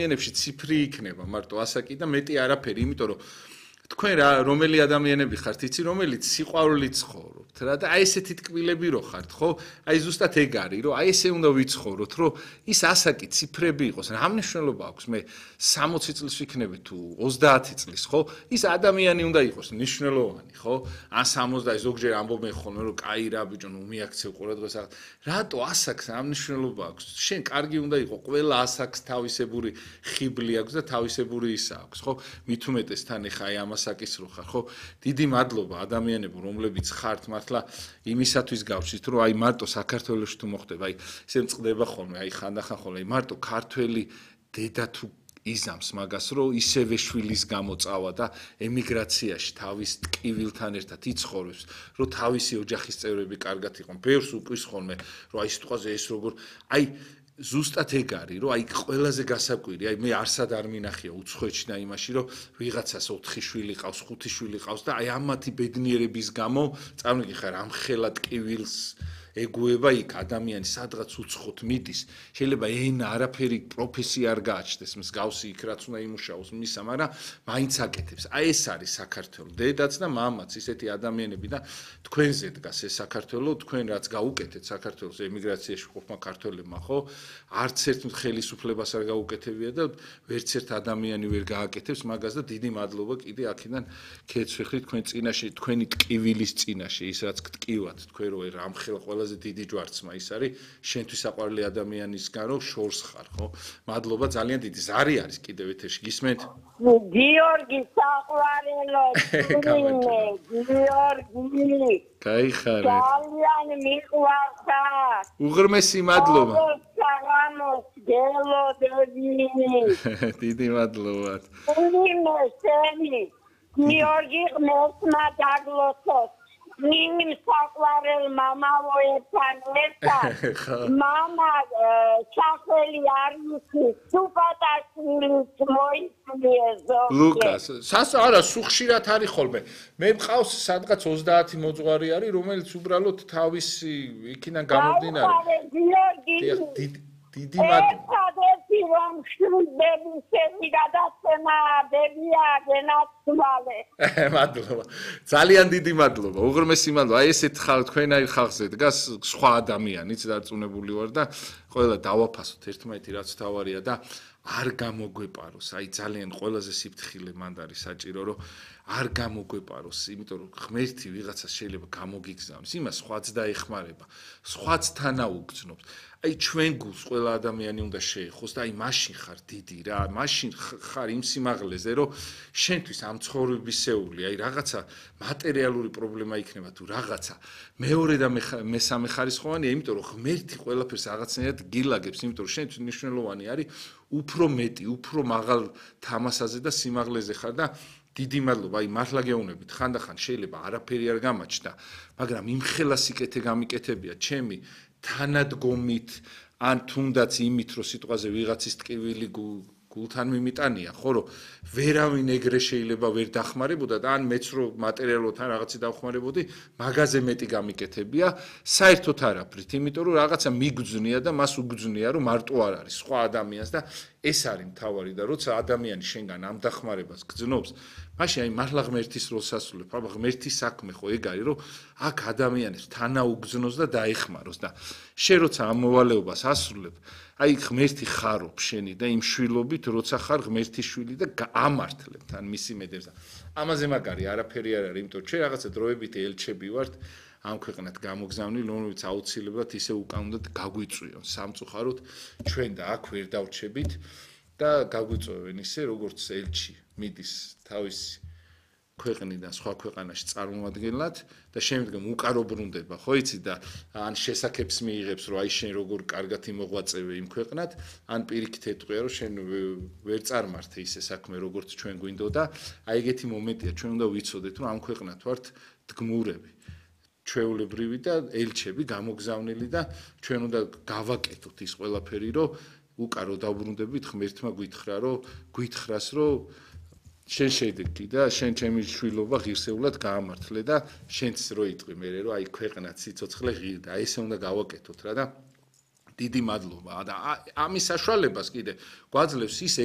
ადამიანებში ციფრი იქნება მარტო ასაკი და მეტი არაფერი, იმიტომ რომ თქვენ რა რომელი ადამიანები ხართ, იცი რომელიც სიყვარულით ცხოვრობთ რა და აი ესეთი ტკბილები რო ხართ, ხო? აი ზუსტად ეგ არის, რომ აი ესე უნდა ვიცხოვროთ, რომ ის ასაკი ციფრები იყოს. რა მნიშვნელობა აქვს მე 60 წლის ვიქნები თუ 30 წლის, ხო? ის ადამიანი უნდა იყოს მნიშვნელოვანი, ხო? ან 60 ზოგჯერ ამბობენ ხოლმე, რომ კაი რა ბიჭო, ნუ მიაქცევ ყურადღებას. რატო ასაკს რა მნიშვნელობა აქვს? შენ კარგი უნდა იყო, ყველა ასაკს თავისებური ხიბლი აქვს და თავისებური ისა აქვს, ხო? მით უმეტეს თან ეხა აი ამას საკისრო ხარ, ხო? დიდი მადლობა ადამიანებო, რომლებიც ხართ მართლა იმისათვის გავშით, რომ აი მარტო საქართველოში თუ მოხდება, აი ესე მწყდება ხოლმე, აი ხანდახან ხოლმე, აი მარტო ქართველი დედა თუ იზამს მაგას, რომ ისევე შვილის გამო წავა და ემიგრაციაში თავის ტკივილთან ერთად იცხოვრებს, რომ თავისი ოჯახის წევრები კარგად იყონ. ბევრს უკვის ხოლმე, რომ აი სიტყვაზე ეს როგორ, აი ზუსტად ეგ არის, რომ აი ყველაზე გასაკვირი, აი მე არსად არ მინახია უცხოეთში და იმაში, რომ ვიღაცას 4 შვილი ყავს, 5 შვილი ყავს და აი ამათი ბედნიერების გამო წარმოგიხარ ამ ხელად ტკივილს ეგუება იქ ადამიანი სადღაც უცხოთ მიდის. შეიძლება ენა არაფერი პროფესია არ გააჩნდეს, მსგავსი იქ რაც უნდა იმუშაოს მისა, მაგრამ მაინც აკეთებს. აი ეს არის საქართველო. დედაც და მამაც ისეთი ადამიანები და თქვენზე დგას ეს საქართველო, თქვენ რაც გაუკეთეთ საქართველოს ემიგრაციაში ყოფნა ქართველებმა, ხო? არც ერთ ხელისუფლებას არ გაუკეთებია და ვერც ერთ ადამიანი ვერ გააკეთებს მაგას და დიდი მადლობა კიდე აქედან ქეცვეხლით თქვენ წინაშე, თქვენი ტკივილის წინაშე, ის რაც გტკივათ, თქვენ რო ამ ხელ ყველაზე დიდი ჯვარცმა ის არის შენთვის საყვარელი ადამიანისგან რომ შორს ხარ, ხო? მადლობა ძალიან დიდი. ზარი არის კიდევ ეთერში, გისმენთ? გიორგი საყვარელო, გიორგი. გაიხარეთ. ძალიან მიყვარხა. უღრმესი მადლობა. დიდი მადლობა. გიორგი ღმერთმა დაგლოცოს. ნიმ საყვარელ მამაო ერთად მამა ჩახველი არ იცის სუპატაშვილიც მოიწვიეზო ლუკას არა სუხშირად არის ხოლმე მე მყავს სადღაც 30 მოძღვარი არის რომელიც უბრალოდ თავისი იქიდან გამომდინარე დიდი მადლობა რომ შვილები შევიგადაცემა ბებია გენაცვალე მადლობა ძალიან დიდი მადლობა უღრმესი მადლობა აი ესეთ თქვენაირ ხალხზე დგას სხვა ადამიანიც დარწმუნებული ვარ და ყველა დავაფასოთ ერთმანეთი რაც თავარია და არ გამოგვეპაროს აი ძალიან ყველაზე სიფრთხილე მანდ არის საჭირო რომ არ გამოგვეპაროს იმიტომ რომ ღმერთი ვიღაცას შეიძლება გამოგიგზავნოს იმას სხვაც დაეხმარება სხვაც თანაუგრძნობს აი ჩვენ გულს ყველა ადამიანი უნდა შეეხოს და აი მაშინ ხარ დიდი რა მაშინ ხარ იმ სიმაღლეზე რომ შენთვის ამ ცხოვრებისეული აი რაღაცა მატერიალური პრობლემა იქნება თუ რაღაცა მეორე და მესამე ხარისხოვანია იმიტომ რომ ღმერთი ყველაფერს რაღაცნაირად გილაგებს იმიტომ რომ შენთვის მნიშვნელოვანი არის უფრო მეტი უფრო მაღალ თამასაზე და სიმაღლეზე ხარ და დიდი მადლობა აი მართლა გეუბნებით ხანდახან შეიძლება არაფერი არ გამაჩნდა მაგრამ იმ ხელა სიკეთე გამიკეთებია ჩემი თანადგომით ან თუნდაც იმით რომ სიტყვაზე ვიღაცის ტკივილი გულთან მიმიტანია ხო რომ ვერავინ ეგრე შეიძლება ვერ დახმარებოდა და ან მეც რომ მატერიალურად ან რაღაცი დავხმარებოდი მაგაზე მეტი გამიკეთებია საერთოდ არაფრით იმიტომ რომ რაღაცა მიგძნია და მას უგძნია რომ მარტო არ არის სხვა ადამიანს და ეს არის მთავარი და როცა ადამიანი შენგან ამ დახმარებას გძნობს მაშინ აი მართლა ღმერთის როლს ასრულებ აბა ღმერთის საქმე ხო ეგ არის რომ აქ ადამიანებს თანაუგზნოს და დაეხმაროს და შენ როცა ამ მოვალეობას ასრულებ აი ღმერთი ხარობ შენი და იმ შვილობით როცა ხარ ღმერთის შვილი და ამართლებ თან მისი მედებს და ამაზე მაგარი არაფერი არ არის იმიტომ ჩვენ რაღაცა დროებით ელჩები ვართ ამ ქვეყნად გამოგზავნილი რომლებიც აუცილებლად ისე უკან უნდა გაგვიწვიონ სამწუხაროდ ჩვენ და აქ ვერ დავრჩებით და გაგვიწვევენ ისე როგორც ელჩი მიდის თავისი ქვეყნიდან სხვა ქვეყანაში წარმომადგენლად და შემდგომ უკარო ბრუნდება ხო იცი და ან შესაძებს მიიღებს რომ აი შენ როგორ კარგად იმოღვაწევე იმ ქვეყნად ან პირიქით ეტყვია რომ შენ ვერ წარმართე ისე საქმე როგორც ჩვენ გვინდოდა აი ეგეთი მომენტია ჩვენ უნდა ვიცოდეთ რომ ამ ქვეყნად ვართ დგმურები ჩვეულებრივი და ელჩები გამოგზავნილი და ჩვენ უნდა გავაკეთოთ ის ყველაფერი რომ უკარო დაუბრუნდებით ღმერთმა გვითხრას რომ შენ შედეგი და შენ ჩემი შვილობა ღირსეულად გაამართლე და შენც რო იტყვი მე რომ აი ქვეყნა სიცოცხლე ღირდა აი ესე უნდა გავაკეთოთ რა და დიდი მადლობა და ამის საშუალებას კიდე გვაძლევს ის